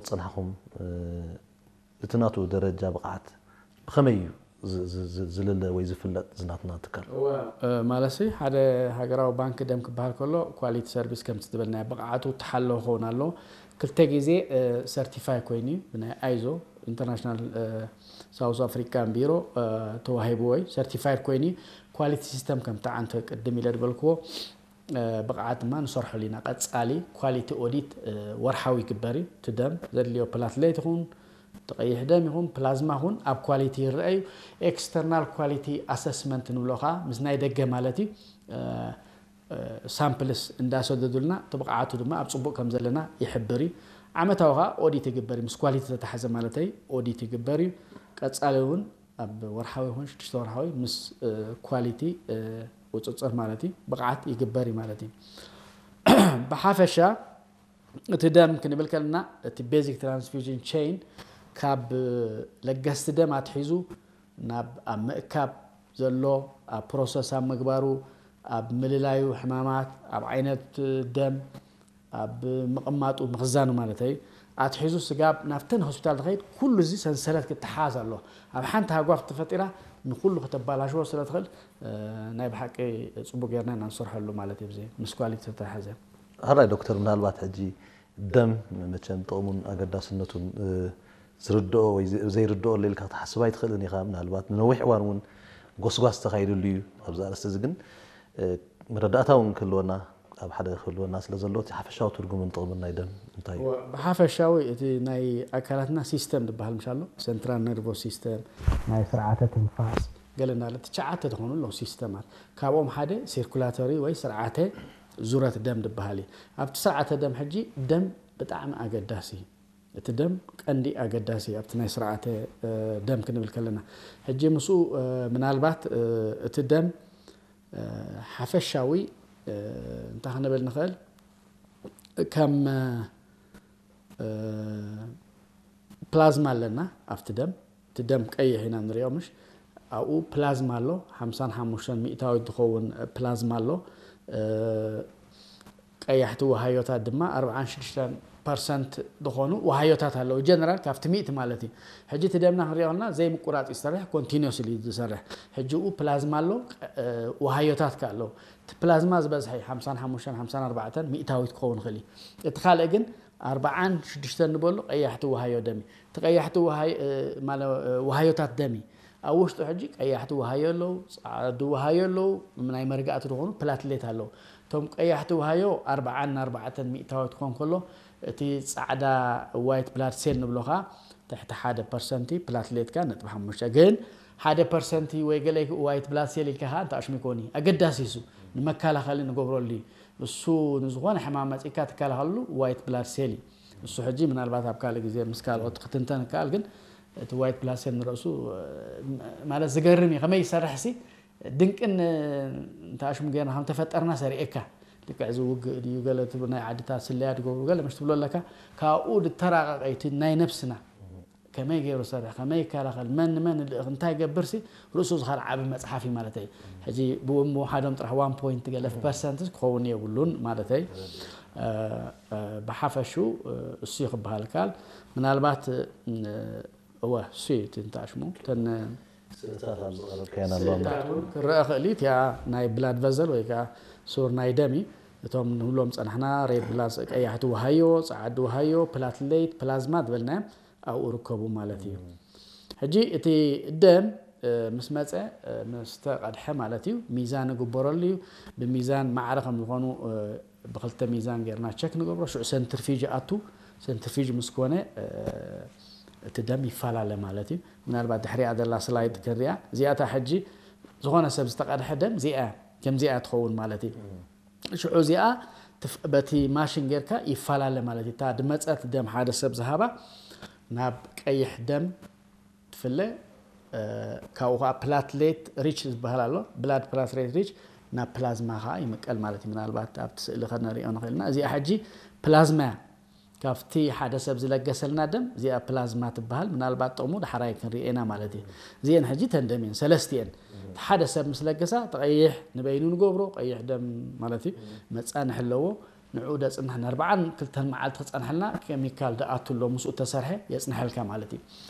ዝፀናሕኹም እቲ ናቱ ደረጃ ብቕዓት ብኸመይ እዩ ዝልለ ወይ ዝፍለጥ ዝናትና ትካል? ማለሲ ሓደ ሃገራዊ ባንክ ደም ክበሃል ከሎ ኳሊቲ ሰርቪስ ከምቲ ዝበልናዮ ብቕዓቱ ተሓለወ ክኸውን ኣለዎ። ክልተ ግዜ ሰርቲፋይ ኮይኑ እዩ ብናይ ኣይዞ ኢንተርናሽናል ሳውስ ኣፍሪካን ቢሮ ተዋሂብዎ እዩ። ሰርቲፋይድ ኮይኑ እዩ። ኳሊቲ ሲስተም ከምቲ ዓንተ ቅድም ኢለ ዝበልክዎ ብቕዓት ድማ ንሰርሐሉ ኢና። ቀፃሊ ኳሊቲ ኦዲት ወርሓዊ ይግበር እዩ። እቲ ደም ዘድልዮ ፕላትሌት ይኹን እቲ ቀይሕ ደም ይኹን ፕላዝማ ይኹን ኣብ ኳሊቲ ይረአ እዩ። ኤክስተርናል ኳሊቲ ኣሰስመንት ንብሎ ከዓ ምስ ናይ ደገ ማለት እዩ። ሳምፕልስ እንዳሰደዱልና እቲ ብቕዓቱ ድማ ኣብ ፅቡቕ ከም ዘለና ይሕብር እዩ። ዓመታዊ ከዓ ኦዲት ይግበር እዩ። ምስ ኳሊቲ ዝተተሓዘ ማለተይ ኦዲት ይግበር እዩ። ቀፃሊ እውን ኣብ ወርሓዊ ይኹን ሽዱሽተ ወርሓዊ ምስ ኳሊቲ ቁፅፅር ማለት እዩ ብቕዓት ይግበር እዩ ማለት እዩ። ብሓፈሻ እቲ ደም ክንብል ከለና እቲ ቤዚክ ትራንስፊውዥን ቼን ካብ ለገስቲ ደም ኣትሒዙ ናብ ኣብ ምእካብ ዘሎ ኣብ ፕሮሰስ ኣብ ምግባሩ ኣብ ምልላዩ ሕማማት ኣብ ዓይነት ደም ኣብ ምቕማጡ ምኽዛኑ ማለት እዩ። ኣትሒዙ ስጋብ ናብተን ሆስፒታል ትኸይድ ኩሉ እዚ ሰንሰለት ክተሓዝ ኣሎ። ኣብ ሓንቲ ሃጓፍ ተፈጢራ ንኩሉ ከተባላሽዎ ስለ ትኽእል ናይ ብሓቂ ፅቡቅ ጌርና ኢና ንሰርሐሉ ማለት እዩ። ምስ ኳሊቲ ተተሓዘ ሕራይ ዶክተር፣ ምናልባት ሕጂ ደም መቸም ጥቕሙን ኣገዳስነቱን ዝርድኦ ወይ ዘይርድኦ ኣለልካ ክትሓስብ ኣይትኽእልን ኢኻ። ምናልባት ንነዊሕ እዋን እውን ጎስጓስ ተኻይድሉ እዩ ኣብዚ ኣርእስቲ እዚ። ግን መረዳእታ እውን ክህልወና ኣብ ሓደ ክህልወና ስለ ዘሎ እቲ ሓፈሻዊ ትርጉምን ጥቕምን ናይ ደም እንታይ እዩ? ብሓፈሻዊ እቲ ናይ ኣካላትና ሲስተም ዝበሃል ምሽ ኣሎ። ሰንትራል ነርቮስ ሲስተም፣ ናይ ስርዓተ ትንፋስ ገለ እንዳለ ትሽዓተ ዝኾኑ ኣለዉ ሲስተማት። ካብኦም ሓደ ሲርኩላቶሪ ወይ ስርዓተ ዙረት ደም ዝበሃል እዩ። ኣብቲ ስርዓተ ደም ሕጂ ደም ብጣዕሚ ኣገዳሲ እዩ። እቲ ደም ቀንዲ ኣገዳሲ ኣብቲ ናይ ስርዓተ ደም ክንብል ከለና ሕጂ ምስኡ ምናልባት እቲ ደም ሓፈሻዊ እንታይ ክንብል ንኽእል ከም ፕላዝማ ኣለና ኣብቲ ደም እቲ ደም ቀይሕ ኢና ንሪኦ ምሽ ኣብኡ ፕላዝማ ኣሎ ሓምሳን ሓሙሽተን ሚእታዊት ዝኸውን ፕላዝማ ኣሎ ቀያሕቲ ውሃዮታት ድማ ኣርብዓን ሽዱሽተን ፐርሰንት ዝኾኑ ውሃዮታት ኣለዉ ጀነራል ካብቲ ሚእቲ ማለት እዩ። ሕጂ እቲ ደምና ክንሪኦ ከለና ዘይምቁራፅ እዩ ዝሰርሕ ኮንቲኒስ እዩ ዝሰርሕ። ሕጂ ኡ ፕላዝማ ኣሎ ውሃዮታት ከ ኣለዉ እቲ ፕላዝማ ዝበዝሐ እዩ ሓምሳን ሓሙሽተን ሓምሳን ኣርባዕተን ሚእታዊት ክኸውን ይኽእል እዩ። እቲ ካልእ ግን ኣርብዓን ሽዱሽተን ንበሉ ቀያሕቲ ውሃዮ ደም እዩ። እቲ ቀያሕቲ ውሃዮታት ደም እዩ ኣብ ውሽጡ ሕጂ ቀያሕቲ ውሃዮ ኣለዉ፣ ፃዓዱ ውሃዮ ኣለዉ፣ ናይ መርጋእቲ ዝኾኑ ፕላትሌት ኣለዉ። እቶም ቀያሕቲ ውሃዮ ኣርብዓን ኣርባዕተን ሚእታዊት ክኾን ከሎ እቲ ፃዕዳ ዋይት ብላድ ሴል ንብሎ ከዓ ትሕቲ ሓደ ፐርሰንቲ ፕላትሌትካ ነጥቢ ሓሙሽተ ግን ሓደ ፐርሰንቲ ወይ ገለ ዋይት ብላድ ሴል ኢልካ ከዓ እንተ ኣሽሙ ይኮን እዩ ኣገዳሲ እሱ ንመከላኸሊ ንገብረሉ እዩ። እሱ ንዝኾነ ሕማም መፂእካ ትከላኸልሉ ዋይት ብላድ ሴል እዩ። እሱ ሕጂ ምናልባት ኣብ ካልእ ግዜ ምስ ካልኦት ክትንተን ይከኣል ግን እቲ ዋይት ብላድ ሴል ንርእሱ ማለት ዝገርም እዩ ከመይ ይሰርሕ ሲ ድንቅን እንተ ኣሽሙ ጌርና ከም ተፈጠርና ሰሪኤካ ልክዕ እዚ ውግእ ድዩ ገለ ትብል ናይ ዓድታት ስለያ ትገብሩ ገለ ምሽ ትብሎ ኣለካ ካብኡ ድተራቀቀ እቲ ናይ ነብስና ከመይ ገይሩ ሰርሕ ከመይ ይከላኸል መን ንመን ልእኽ እንታይ ገብር ሲ ርእሱ ዝኻል ዓቢ መፅሓፍ እዩ ማለት እዩ። ሕጂ ብኡ ምውሓዶም ጥራሕ ዋን ፖይንት ገለ ፐርሰንት ክኸውን የብሉን ማለት እዩ። ብሓፈሹ እሱ ክበሃል ካል ምናልባት እወ እሱ እዩ እቲ እንተኣሽሙ ተን ስእልታት ኣብ ዝቐረብካየን ኣለዋ። ክረአ ክእል እዩ እቲኣ ናይ ብላድ ቨዘል ወይ ከዓ ሱር ናይ ደም እዩ። እቶም ንብሎም ፀናሕና ሬድ ብላስ ቀያሕቲ ውሃዮ ፀዓዲ ውሃዮ ፕላትሌት ፕላዝማ ዝበልናዮም ኣብኡ ርከቡ ማለት እዩ። ሕጂ እቲ ደም ምስ መፀ ምስ ተቐድሐ ማለት እዩ ሚዛን ይግበረሉ እዩ። ብሚዛን ማዕረ ከም ዝኾኑ ብክልተ ሚዛን ጌርና ቸክ ንገብሮ ሽዑ ሰንትርፊጅ ኣቱ ሰንትርፊጅ ምስ ኮነ እቲ ደም ይፈላለ ማለት እዩ። ምናልባት ድሕሪኣ ዘላ ስላይድ ክንሪኣ እዚኣታ ሕጂ ዝኾነ ሰብ ዝተቐድሐ ደም እዚኣ ከምዚኣ ትኸውን ማለት እዩ። ሽዑ እዚኣ በቲ ማሽን ጌርካ ይፈላለ ማለት እዩ። እታ ድመፀት ደም ሓደ ሰብ ዝሃባ ናብ ቀይሕ ደም ትፍለ ካብኡ ከዓ ፕላትሌት ሪች ዝበሃል ኣሎ ብላድ ፕላትሌት ሪች ናብ ፕላዝማ ከዓ ይምቀል ማለት እዩ። ምናልባት ኣብቲ ስእሊ ከነሪኦ ንኽእልና እዚኣ ሕጂ ፕላዝማ እያ። ካብቲ ሓደ ሰብ ዝለገሰልና ደም እዚኣ ፕላዝማ ትበሃል ምናልባት ጥቕሙ ዳሕራይ ክንሪኤና ማለት እዩ። እዚአን ሕጂ ተንደም እየን ሰለስቲአን ሓደ ሰብ ምስ ለገሳ ተቐይሕ ንበይኑ ንገብሮ ቀይሕ ደም ማለት እዩ። መፃንሕ ኣለዎ ንዕኡ ደጽንሕ ንኣርባዓን ክልተን መዓልቲ ክጸንሐልና ኬሚካል ደኣቱ ኣሎ ምስኡ ተሰርሐ የጽንሐልካ ማለት እዩ።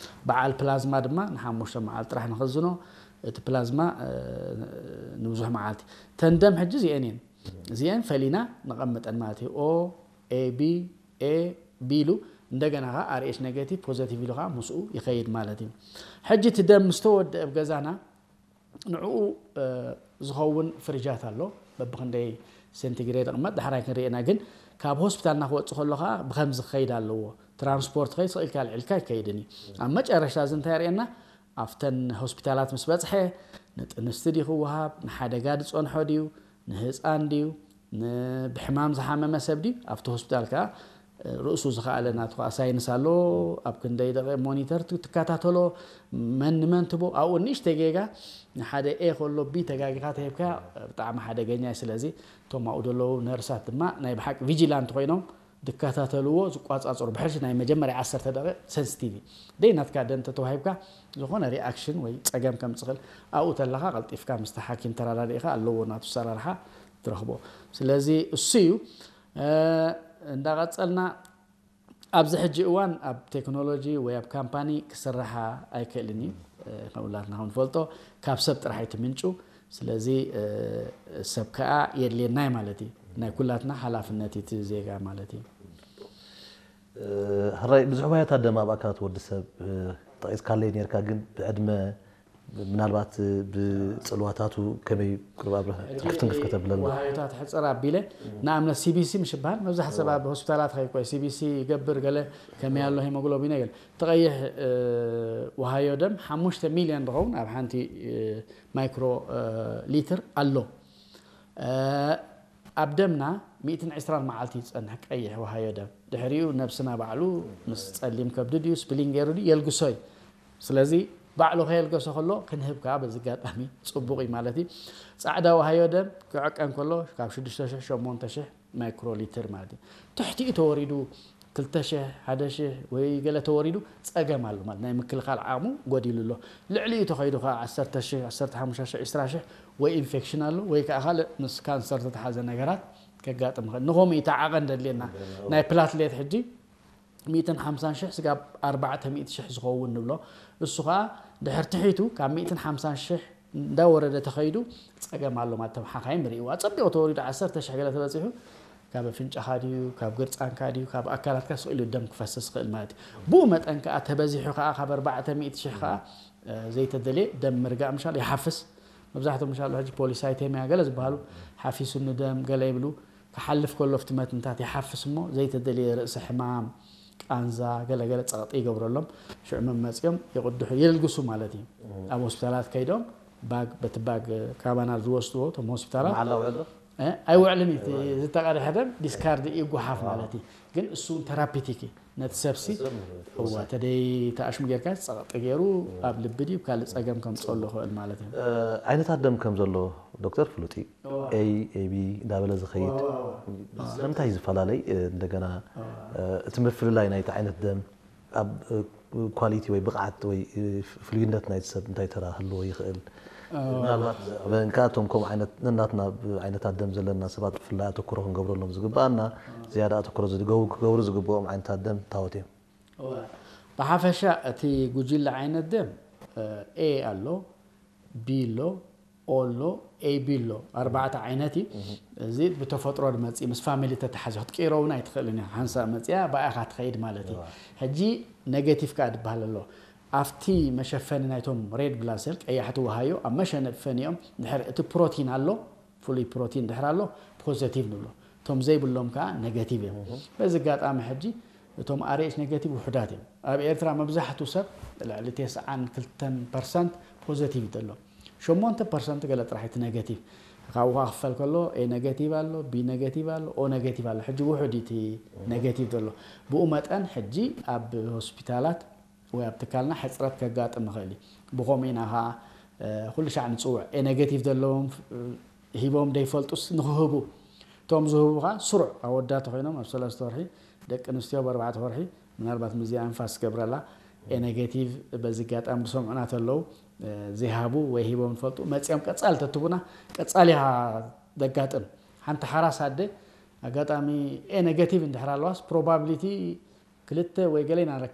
በዓል ፕላዝማ ድማ ንሓሙሽተ መዓልቲ ጥራሕ ንኽዝኖ እቲ ፕላዝማ ንብዙሕ መዓልቲ ተንደም ሕጂ እዚአን እየን እዚአን ፈሊና ነቐምጠን ማለት እዩ። ኦ ኤ ቢ ኤ ቢ ኢሉ እንደገና ከዓ ኣርኤች ኔጌቲቭ ፖዘቲቭ ኢሉ ከዓ ምስኡ ይኸይድ ማለት እዩ። ሕጂ እቲ ደም ምስተወደአ ኣብ ገዛና ንዕኡ ዝኸውን ፍሪጃት ኣሎ። በብክንደይ ሴንቲግሬድ ይቕመጥ ዳሕራይ ክንርኤና ግን ካብ ሆስፒታልና ክወፅእ ከሎ ከዓ ብከምዚ ክኸይድ ኣለዎ። ትራንስፖርት ከይድ ስቕ ኢልካ ልዕልካ ኣይከይድን እዩ። ኣብ መጨረሽታ እዚ እንታይ የርእየና? ኣብተን ሆስፒታላት ምስ በፅሐ ንጥንስቲ ድዩ ክወሃብ፣ ንሓደጋ ዝፀንሖ ድዩ፣ ንህፃን ድዩ፣ ብሕማም ዝሓመመ ሰብ ድዩ ኣብቲ ሆስፒታል ከዓ ርእሱ ዝኸኣለ ናቱ ከዓ ሳይንስ ኣሎ። ኣብ ክንደይ ደቂ ሞኒተር ትከታተሎ፣ መን ንመን ትቦ ኣብኡ ንእሽተይ ጌጋ ንሓደ ኤ ከሎ ቢ ተጋጊኻ ተሂብካ ብጣዕሚ ሓደገኛ እዩ። ስለዚ እቶም ኣብኡ ዘለዉ ነርሳት ድማ ናይ ብሓቂ ቪጂላንት ኮይኖም ዝከታተልዎ ዝቋፃፅሩ ብሕጂ ናይ መጀመርያ ዓሰርተ ደቂቕ ሰንስቲቭ እዩ። ደይ ናትካ ደም ተተዋሂብካ ዝኾነ ሪኣክሽን ወይ ፀገም ከም ዝኽእል ኣብኡ ተለኻ ቀልጢፍካ ምስቲ ሓኪም ተራዳዲእኻ ኣለዎ ናቱ ሰራርሓ ትረኽቦ። ስለዚ እሱ እዩ። እንዳቐፀልና ኣብዚ ሕጂ እዋን ኣብ ቴክኖሎጂ ወይ ኣብ ካምፓኒ ክስራሓ ኣይክእልን እዩ። ከም ሁላትና ከም ንፈልጦ ካብ ሰብ ጥራሕ እዩ እቲ ምንጩ። ስለዚ ሰብ ከዓ የድልየና እዩ ማለት እዩ። ናይ ኩላትና ሓላፍነት እዩ እቲ ዜጋ ማለት እዩ። ሕራይ ብዙሕ ዋያታት ደም ኣብ ኣካላት ወዲ ሰብ ጠቂስካለይ ነርካ፣ ግን ብዕድመ ምናልባት ብፅልዋታቱ ከመይ ቁርብ ኣብረ ትንክፍ ተብለና። ዋሃዮታት ሕፅር ኣቢለ ንኣብነት ሲቢሲ ምሽ ይበሃል። መብዛሕት ሰብ ኣብ ሆስፒታላት ከይኮይ ሲቢሲ ይገብር ገለ ከመይ ኣሎ ሄሞግሎቢን ገለ ተቐይሕ ዋሃዮ ደም ሓሙሽተ ሚልዮን ዝኸውን ኣብ ሓንቲ ማይክሮ ሊትር ኣሎ። ኣብ ደምና ሚእትን ዕስራን መዓልቲ ዝፀንሕ ቀይሕ ዋሃዮ ደም ድሕሪኡ ነብስና ባዕሉ ምስ ፀሊም ከብዲ ድዩ ስፕሊን ገይሩ ድዩ የልግሶ እዩ። ስለዚ ባዕሉ ከየልገሶ ከሎ ክንህብ ከዓ በዚ ኣጋጣሚ ፅቡቕ እዩ ማለት እዩ። ፃዕዳ ዋሃዮ ደም ክዕቀን ከሎ ካብ ሽዱሽተ ሽሕ ሸሞንተ ሽሕ ማይክሮ ሊትር ማለት እዩ። ትሕቲኡ ተወሪዱ ክልተ ሽሕ ሓደ ሽሕ ወይ ገለ ተወሪዱ ፀገም ኣሎ ማለት ናይ ምክልኻል ዓቕሙ ጎዲሉ ኣሎ። ልዕሊኡ ተኸይዱ ከዓ ዓሰርተ ሽሕ ዓሰርተ ሓሙሽተ ሽሕ ዕስራ ሽሕ ወይ ኢንፌክሽን ኣሎ ወይ ከዓ ካልእ ምስ ካንሰር ዝተተሓዘ ነገራት ከጋጥም ይኽእል። ንኸምኡ እዩ እቲ ዓቐን ዘድልየና። ናይ ፕላትሌት ሕጂ ሚእትን ሓምሳን ሽሕ ስጋብ ኣርባዕተ ሚእቲ ሽሕ ዝኸውን ንብሎ። እሱ ከዓ ድሕር ትሒቱ ካብ ሚእትን ሓምሳን ሽሕ እንዳወረደ ተኸይዱ ፀገም ኣሎ ማለት እቶም ሓኻይም ርእይዎ። ኣፀቢቑ ተወሪዱ ዓሰርተ ሽሕ ገለ ተበፂሑ ካብ ኣፍንጫኻ ድዩ ካብ ግርፃንካ ድዩ ካብ ኣካላትካ ስቕ ኢሉ ደም ክፈስስ ይኽእል ማለት እዩ። ብኡ መጠን ከዓ ተበዚሑ ከዓ ካብ ኣርባዕተ ሚእቲ ሽሕ ከዓ ዘይተደልየ ደም ምርጋእ ምሻል ይሓፍስ። መብዛሕትኦም ምሻሉ ሕጂ ፖሊሳይቴምያ ገለ ዝበሃሉ ሓፊሱኒ ደም ገለ ይብሉ። ክሓልፍ ከሎ ኣብቲ መትንታት ይሓፍስ እሞ ዘይተደልየ ርእሲ ሕማም፣ ቃንዛ፣ ገለገለ ፀቕጢ ይገብረሎም። ሽዑ መመፂኦም ይቕድሑ የልግሱ ማለት እዩ። ኣብ ሆስፒታላት ከይዶም ባግ በቲ ባግ ካባና ዝወስድዎ እቶም ሆስፒታላት መዓላ ውዕል ዶ? እ፣ ኣይውዕልን እዩ። እቲ ዝተቐድሐ ደም ዲስካርድ ይጓሓፍ ማለት እዩ። ግን እሱ እውን ተራፒቲክ እዩ። ነቲ ሰብሲ እዋ ተደይ ተኣሽሙ ጌርካ ጸቕጢ ገይሩ ኣብ ልቢ ድዩ ካልእ ጸገም ከምጽኦ ኣሎ ክእል ማለት እዩ። ዓይነታት ደም ከም ዘሎ ዶክተር ፍሉጥ እዩ። ኤ ኤቢ እንዳበለ ዝኸይድ ስለምንታይ እዩ ዝፈላለይ? እንደገና እቲ ምፍልላይ ናይቲ ዓይነት ደም ኣብ ኳሊቲ ወይ ብቕዓት ወይ ፍሉይነት ናይቲ ሰብ እንታይ ተራ ክህልዎ ይኽእል? ምናልባት ብእንካቶም ከምኡ ዓይነት ነናትና ዓይነታት ደም ዘለና ሰባት ብፍላይ ኣተኩሮ ክንገብረሎም ዝግባኣና ዝያዳ ኣተኩሮ ዝገቡ ክገብሩ ዝግብኦም ዓይነታት ደም ታወት እዮም። ብሓፈሻ እቲ ጉጅለ ዓይነት ደም ኤ ኣሎ፣ ቢ ኣሎ፣ ኦ ኣሎ፣ ኤቢ ኣሎ። ኣርባዕተ ዓይነት እዩ። እዚ ብተፈጥሮ ዝመፅእ ምስ ፋሚሊ ተተሓዚ ክትቅይሮ እውን ኣይትኽእልን ኢኻ። ሓንሳብ መፅያ ብኣኻ ትኸይድ ማለት እዩ። ሕጂ ኔጌቲቭ ከዓ ዝበሃል ኣሎ። ኣብቲ መሸፈኒ ናይቶም ሬድ ብላድ ሴል ቀያሕቲ ወሃዮ ኣብ መሸፈኒኦም ድሕር እቲ ፕሮቲን ኣሎ ፍሉይ ፕሮቲን ድሕር ኣሎ ፖዘቲቭ ንብሎ። እቶም ዘይብሎም ከዓ ኔጌቲቭ እዮም። በዚ ኣጋጣሚ ሕጂ እቶም ኣርኤች ኔጌቲቭ ውሑዳት እዮም። ኣብ ኤርትራ መብዛሕቱ ሰብ ልዕሊ ተስዓን ክልተን ፐርሰንት ፖዘቲቭ እዩ ዘሎ። ሸሞንተ ፐርሰንት ገለ ጥራሕ እቲ ኔጌቲቭ። ካብኡ ከዓ ክፈል ከሎ ኤ ኔጌቲቭ ኣሎ፣ ቢ ኔጌቲቭ ኣሎ፣ ኦ ኔጌቲቭ ኣሎ። ሕጂ ውሑድ እዩ እቲ ኔጌቲቭ ዘሎ። ብኡ መጠን ሕጂ ኣብ ሆስፒታላት ወይ ኣብ ትካልና ሕፅረት ከጋጥም ይኽእል እዩ። ብኸምኡ ኢና ከዓ ኩሉ ሻዕ ንፅውዕ። ኤ ኔጌቲቭ ዘለዎም ሂቦም ደይፈልጡስ ንክህቡ እቶም ዝህቡ ከዓ ስሩዕ ኣወዳት ኮይኖም ኣብ ሰለስተ ወርሒ ደቂ ኣንስትዮ ብኣርባዕተ ወርሒ ምናልባት ምዚኣ ኣንፋስ ገብረላ ኤ ኔጌቲቭ በዚ ኣጋጣሚ ዝሰምዑና ተለዉ ዘይሃቡ ወይ ሂቦም ዝፈልጡ መፂኦም ቀፃሊ ተትቡና ቀፃሊ ኢኻ ዘጋጥም ሓንቲ ሓራስ ኣደ ኣጋጣሚ A negative እንድሕር ኣለዋስ probability ክልተ ወይ ገለ ኢና ንረክብ።